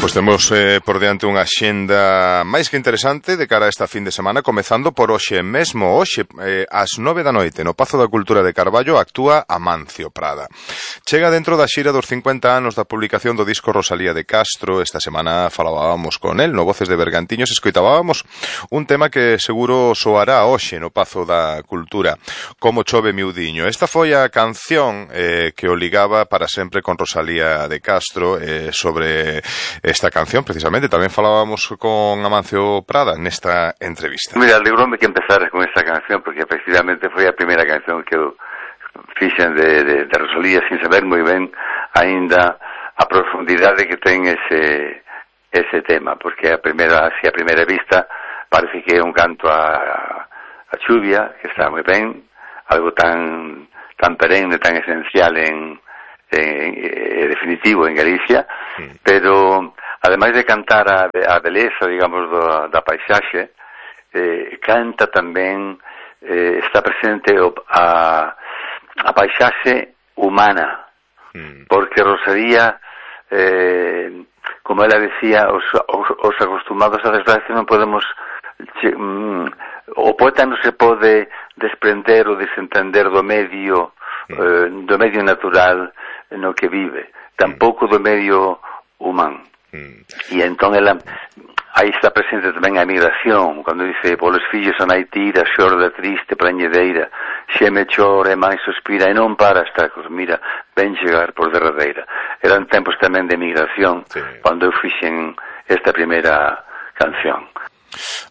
Pois temos por diante unha axenda máis que interesante de cara a esta fin de semana, comezando por hoxe mesmo. Hoxe, ás 9 da noite, no Pazo da Cultura de Carballo, actúa Amancio Prada. Chega dentro da xira dos 50 anos da publicación do disco Rosalía de Castro. Esta semana falábamos con el no Voces de Bergantiños, escoitábamos un tema que seguro soará hoxe no Pazo da Cultura, Como chove miudiño. Esta foi a canción que o ligaba para sempre con Rosalía de Castro. Sobre esta canción, precisamente, tamén falábamos con Amancio Prada nesta entrevista. Mira, alegróme que empezaras con esta canción, porque efectivamente foi a primeira canción que eu fixen de Rosalía, sin saber moi ben aínda a profundidade que ten ese tema, porque a primeira vista parece que é un canto a chuvia, que está moi ben, algo tan perenne, tan esencial en definitivo en Galicia, pero ademais de cantar a beleza, digamos, da paisaxe, canta tamén, está presente a paisaxe humana, porque Rosalía, como ela decía, os acostumados a desgracia non podemos, o poeta non se pode desprender ou desentender do medio natural no que vive, tampouco do medio humano. E entón ela, aí está presente tamén a emigración, cando dice: polos fillos a nai tira, xorda triste, prañedeira, xeme chora e máis suspira, e non para hasta que os mira, ven chegar por derradeira. Eran tempos tamén de emigración, cando eu fixen esta primeira canción.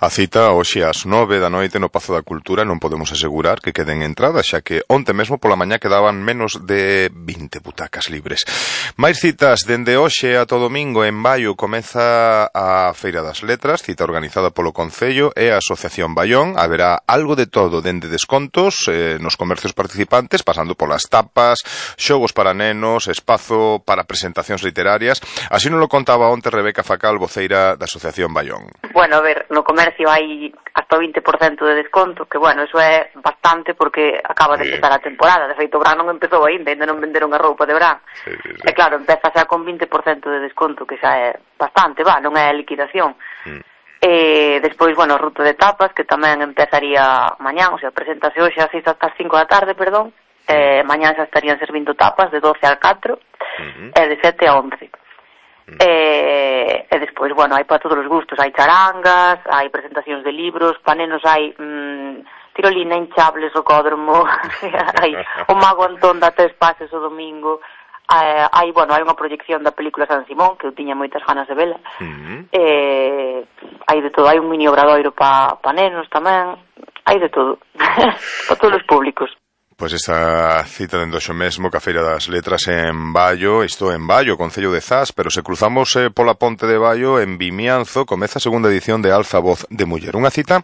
A cita hoxe ás 9 da noite no Pazo da Cultura. Non podemos asegurar que queden entradas, xa que onte mesmo pola mañá quedaban menos de 20 butacas libres. Máis citas dende hoxe ata o domingo. En Baio comeza a Feira das Letras, cita organizada polo Concello e a Asociación Baión. Haberá algo de todo, dende descontos nos comercios participantes, pasando polas tapas, xogos para nenos, espazo para presentacións literarias. Así nos lo contaba onte Rebeca Facal, voceira da Asociación Baión. Bueno, a ver, no comercio hai hasta o 20% de desconto, que bueno, eso é bastante porque acaba de empezar a temporada. De feito, o verán non empezou ainda non venderon a roupa de verán. Sí. E claro, empeza xa con 20% de desconto, que xa é bastante, non é liquidación. E despois, bueno, ruta de tapas, que tamén empezaría mañán, o sea, presentase hoxe ás 6 hasta as 5 da tarde, perdón. Mañán xa estarían servindo tapas de 12 a 4 e de 7 a 11. E despois, bueno, hai para todos os gustos, hai charangas, hai presentacións de libros, para nenos hai tirolina, hinchables, rocódromo, hai o Mago Antón da 3 pases o domingo, hai unha proyección da película San Simón, que eu tiña moitas ganas de vela, hai de todo, hai un mini obradoiro para nenos tamén, hai de todo, para todos os públicos. Pois esta cita dende hoxe mesmo que a Feira das Letras en Baio, isto en Baio, Concello de Zas, pero se cruzamos pola ponte de Baio, en Vimianzo, comeza a segunda edición de Alza Voz de Muller. Unha cita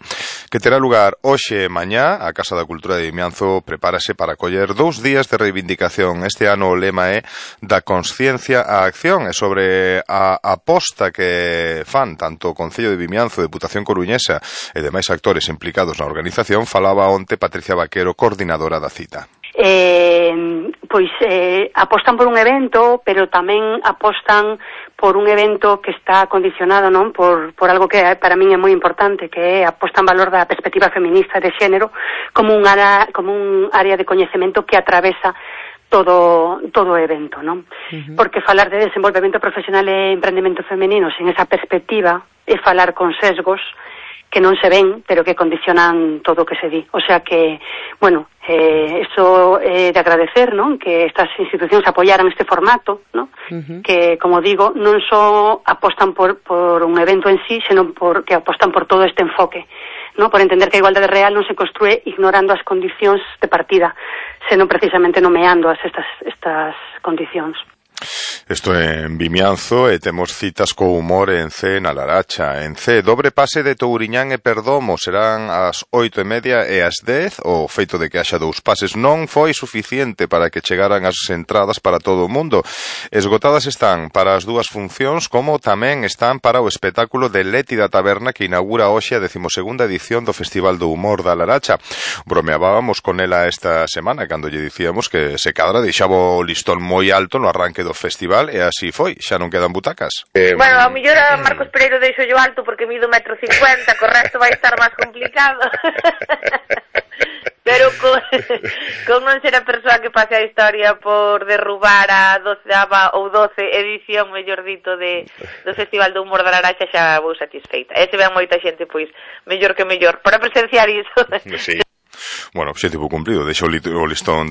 que terá lugar hoxe e mañá. A Casa da Cultura de Vimianzo prepárase para coller 2 días de reivindicación. Este ano o lema é da consciencia á acción, e sobre a aposta que fan tanto o Concello de Vimianzo, Deputación Coruñesa e demais actores implicados na organización, falaba onte Patricia Vaquero, coordinadora da cita. Apostan por un evento, pero tamén apostan por un evento que está condicionado, non, por algo que para min é moi importante, que é a posta en valor da perspectiva feminista de xénero como un área de coñecemento que atravesa todo o evento, non? Porque falar de desenvolvemento profesional e emprendemento femenino sen esa perspectiva é falar con sesgos que non se ven, pero que condicionan todo o que se di. O sea que, bueno, eso é de agradecer, non? Que estas institucións apoyaran este formato, non? Que, como digo, non só apostan por un evento en sí, senón que apostan por todo este enfoque, non? Por entender que a igualdade real non se construe ignorando as condicións de partida, senón precisamente nomeando estas condicións. Isto en Vimianzo, e temos citas co humor en C na Laracha. En C, dobre pase de Touriñán e Perdomo, serán ás 8:30 e ás 10. O feito de que haxa 2 pases non foi suficiente para que chegaran as entradas para todo o mundo. Esgotadas están para as 2 funcións, como tamén están para o espectáculo de Leti da Taberna, que inaugura hoxe a 12ª edición do Festival do Humor da Laracha. Bromeábamos con ela esta semana, cando lle dicíamos que se cadra deixaba o listón moi alto no arranque do do festival e así foi, xa non quedan butacas. Bueno, ao mellor a Marcos Pereiro deixo yo alto porque mido 1,50 m, co resto vai estar máis complicado. Pero con non ser a persoa que pase a historia por derrubar a 12ª ou 12 edición, mellor dito, do Festival do Humor da Laraxa, xa vou satisfeita. E se ven moita xente, pois, mellor que mellor, para presenciar iso. Sí. Bueno, objetivo cumplido, deixou o listón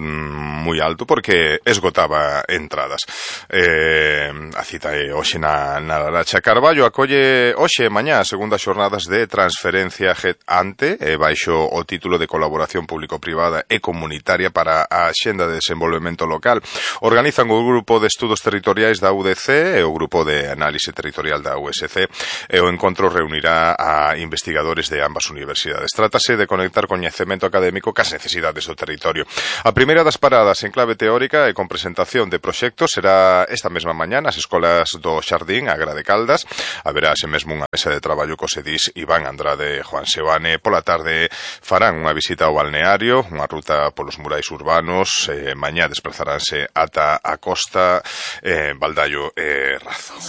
moi alto porque esgotaba entradas. A cita é hoxe na Laracha. Carballo acolle hoxe e mañá as segundas xornadas de transferencia ante baixo o título de colaboración público-privada e comunitaria para a Axenda de Desenvolvemento Local. Organizan o Grupo de Estudos Territoriais da UDC e o Grupo de Análise Territorial da USC, e o encontro reunirá a investigadores de ambas universidades. Trátase de conectar coñecemento académico cas necesidades do territorio. A primeira das paradas en clave teórica e con presentación de proxectos será esta mesma mañá nas escolas do Xardín, Agra de Caldas. Haberá ase mesmo unha mesa de traballo cos edís Iván Andrade e Juan Seoane. Pola tarde farán unha visita ao balneario, unha ruta polos murais urbanos. Mañá desplazaranse ata a costa, Baldallo e Razo.